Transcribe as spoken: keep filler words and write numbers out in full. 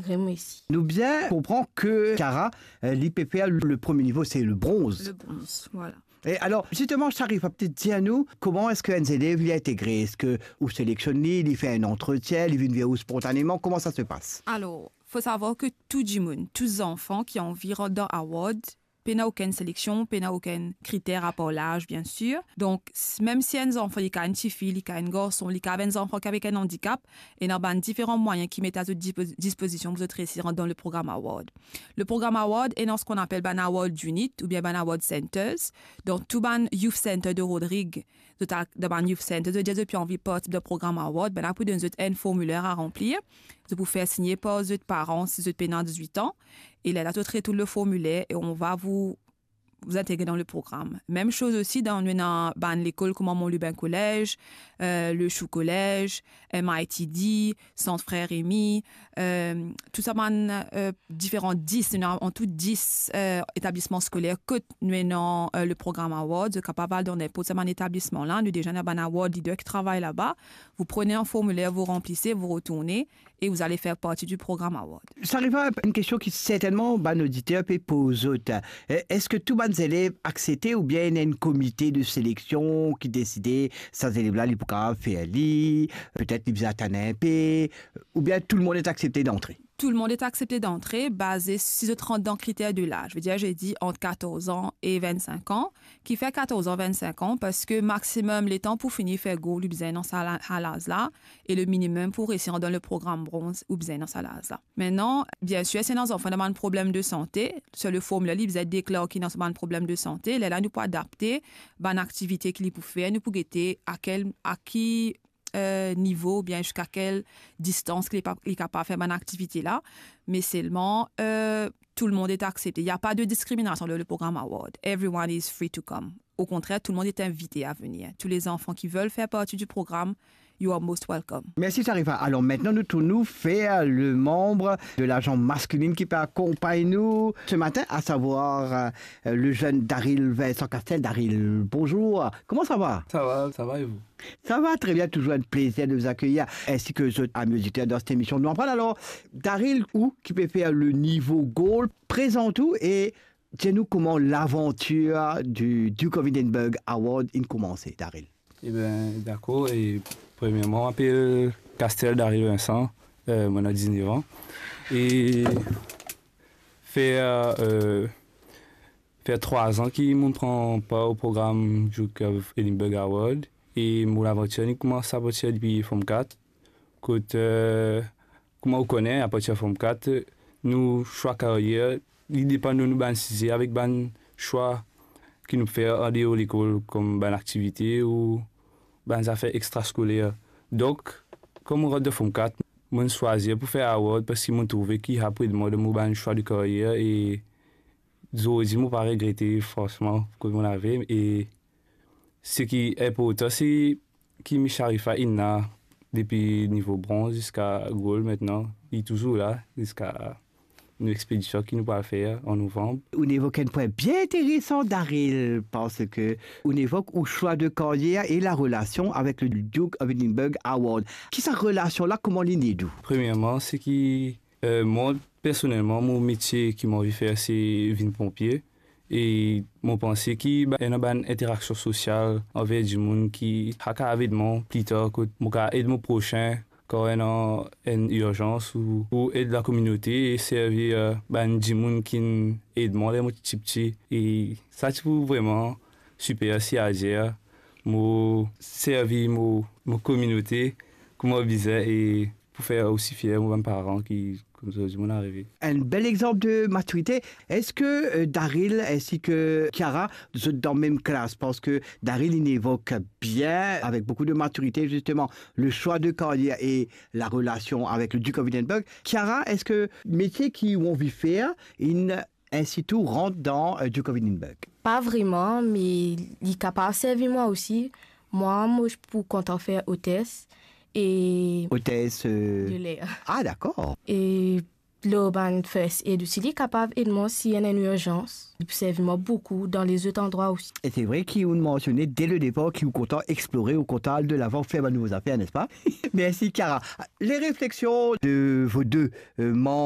Remesi. Nou bien konpran ke Kiara, euh, li pe fer le premie nivo, se le bronz. Le bronz, voilà. E alor, zisteman, Sharifa, petet dir nou, kouma eski enn zelev li integre? Eski ou seleksionn li, li fer enn antretien, li vinn ver ou spontaneman? Kouma sa se pas? Alor, fo savwar ke tou dimoun, tou zanfan ki anvi rant dan award, pena okenn seleksion, pena okenn kriter apar laz, biensir. Donk, s-, mem si enn zanfan, li ka enn tifi, li ka enn garson, li ka enn zanfan ki avek enn andikap, ena bann diferan mwayin ki met a zot dispo-, dispozision pou zot resi rant dan le program award. Le program award ena seki nou apel bann award unit oubien bann award centers. Dan tou bann youth center de Rodrig, zot a, dan bann youth center, zot dir zot pe anvi partisip dan program award, bann la pou donn zot enn formiler a ranplir. Zot pou fer signe par zot paran si zot pena dizwit an. E lerla zot retourn le formiler et on va vous, vous intégrer dans le programme. Mem soz osi dan, nou ena bann lekol kouma Mont Lubin Collège, euh, Le Chou Collège, M I T D, Centre Frère Rémy, euh, tou sa bann, euh, diferan dis, nou ena an tou dis, euh, etablisman skoler kot nou ena, euh, le program award. Zot kapav al dan ninport sa bann etablisman la, nou deza ena bann award leader ki travay laba. Vous prenez un formulaire, vous remplissez, vous retournez et vous allez faire partie du programme award. Sharifa, enn kestion ki sertennman bann oditer pe poz zot. E, eski tou bann zelev aksepte oubien ena enn komite de seleksion ki deside sa zelev la, li pou kapav fer li, petet li bizin atann inpe, oubien tout le monde est accepté d'entrée? Tout le monde est accepté d'entrée, baze si zot rant dan kriter de laz. Je veux dire, j'ai dit entre quatorze ans et vingt-cinq ans. Ki fer quatorze ans, vingt-cinq ans, parski maximum letan pou fini fer goal, ou bizin dan sa la-, sa laz la, e le minimum pou resi dan le program bronz, ou bizin dan sa laz la. Aster, biensir, si ena zanfan ena bann problem de sante, sir le formiler, li bizin deklar ki ena bann problem de sante, lerla nou pou adapte bann aktivite ki li pou fer, nou pou gete a kel, a ki, euh, nivo oubien ziska kel distans ki li pa, li kapav fer bann aktivite la. Me selman, euh, tout le monde est accepté. Il n'y a pas de discrimination dans le programme award. Everyone is free to come. Au contraire, tout le monde est invité à venir. Tous les enfants qui veulent faire partie du programme, you are most welcome. Mersi, Sharifa. Alor, aster nou tourn nou ver le manb de lazans masklinn ki pe akonpagn nou se matin, a savwar, euh, le zenn Daryl Vincent Castel. Daryl, bonzour. Kouma sa va? Sa va, sa va e vou? Sa va tre bien, touzour enn plezir de vous accueillir, ensi ke zot, ami oditer, dan set emision Nou Aprann. Alor, Daryl, ou ki pe fer le nivo goal, prezant ou e dir nou kouma lavantir du Duke of Edinburgh Award inn koumanse, Daryl. Eben, dakor, e premierman, mo apel Castel Daryl Vincent, euh, mo ena diznef an. E fer, euh, fer trwa an ki mo pran par o program Duke of Edinburgh Award, e mo lavantir inn koumans apartir depi Form kat, kot, euh, kouma ou kone, apartir Form kat, nou swa karyer, li depann de nou bann size avek bann swa ki nou fer andeor lekol, kom bann aktivite ou bann zafer extraskoler. Donk, kom mo rant dan Form kat, mo'nn swazir pou fer award parski mo trouve ki sa pou ed mwa dan mo bann swa de karyer e zordi mo pa regrete, fransman, kot mo ave. E seki inportan, se ki Miss Sharifa inn la depi nivo bronz ziska gold aster, li touzour la ziska nou expedision ki nou pou al fer an novanm. Ou'nn evok enn pwin bien interesan, Daryl, parski ou'nn evok ou swa de karyer e larelasion avek le Duke of Edinburgh Award. Ki sa relasion la, kouma li inn ed ou? Premierman, seki, euh, mwa, personelman, mo metie ki mo anvi fer, se vinn ponpie. E mo panse ki ba-, ena bann interaksion sosial anver dimoun ki sa kapav ed mwa pli tar, kot mo kapav ed mo prosin kan ena enn irzans ou, ou ed lakominote e servi, euh, bann dimoun ki'nn ed mwa ler mo ti tipti. E sa ti pou vreman siper si azer mo servi mo, mo kominote kouma bizin e pou fer osi fier mo bann paran ki, kouma zot dir, mo'nn arive. Enn bel exanp de matirite. Eski, euh, Daryl ensi ke Kiara, zot dan mem klas? Parski Daryl inn evok bien, avek boukou de matirite, zisteman, le swa de karyer e larelasion avek le Duke of Edinburgh. Kiara, eski metie ki ou anvi fer inn ensi tou rant dan, euh, Duke of Edinburgh? Pa vreman, me li kapav servi mwa osi. Mwa, mo pou kontan fer otes e otes, euh, de ler. Ah, dakor. E lor bann first aid osi, li kapav ed mwa si ena enn irzans. Li pou servi mwa boukou dan lezot andrwa osi. E se vre ki ou'nn mansione de le depar ki ou kontan explore, ou kontan al de lavan, fer bann nouvo zafer, nespa? Mersi, Kiara. Les réflexions de vos deux, euh, manb